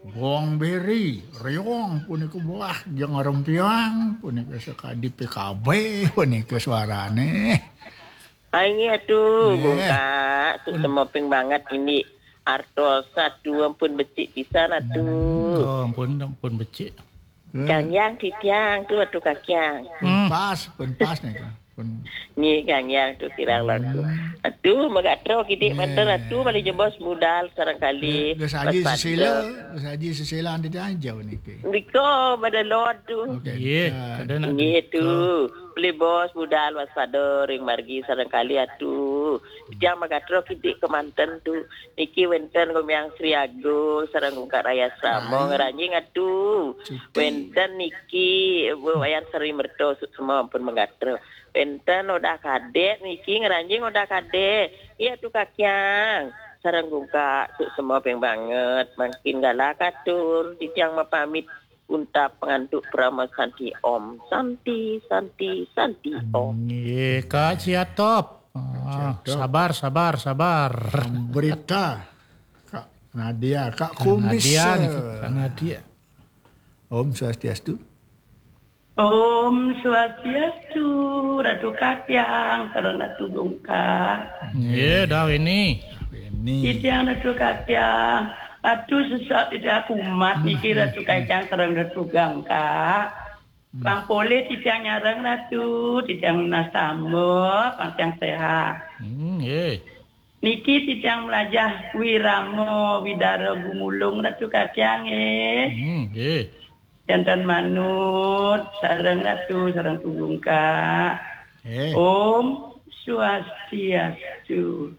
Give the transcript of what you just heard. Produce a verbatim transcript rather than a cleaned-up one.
Bong Beri, Riong punika, wah, Jeng Rempiang punika, sakadi P K B punika suarane. Ai nggih atuh, Nggih. Bung Kak, suksma ping banget ini. Artos atuh ampun becik pisan atuh. Oh, ampun, ampun becik. Kang Yang titiang tuh atuh Kakiang. Pun pas, pun pas nih, Kang. Pun Nggih Kang Yang tuh kirang langkung. Atuh magatra kidik manten atuh malih jebos budal sareng kalih. Geus aji sesila, geus aji sesila anu dianjau niki. Nika pada lot tuh. Oke. Nggih, Nah, kada nak Nggih tuh. Beli bos budal waspada ring margi sareng kalih atuh. Titiang magatra kidik kemanten tuh. Niki wenten Gumiang Sri Agung sareng Gungkak Raya Samo ngranjing atuh. Cuti. Wenten niki Wayan Sri Merta suksma ampun magatra. Wenten Odah Kadek niki ngranjing Odah Kadek. Iya tuh Kakiang. Sareng Gungkak suksma ping banget. Mangkin galak atur titiang mapamit. Unta pengantuk Parama Santi Om. Santi, Santi, Santi Om. Nggih, Kak Ciatop. Ah, Ciatop. Sabar, sabar, sabar. Berita Kak Nadia, Kak Kumis. Nadia nih, Kak Nadia. Om Swastiastu. Om Swastiastu, Ratu Kakiang, sareng Ratu Gungkak. Nggih, dah ini. Ini. Titiang Ratu Kakiang, Ratu sesat tidak kumat niki Ratu Kakiang sareng Ratu Gungkak. Pang polih titiang nyareng Ratu, titiang nunas tambah, pang tiang sehat. Hmm, nggih. Niki titiang melajah wirama widara gumulung Ratu Kakiang nggih. Hmm, nggih. Jantan manut, sareng Ratu, sareng Ratu Gungkak. Eh, Om Swastiastu.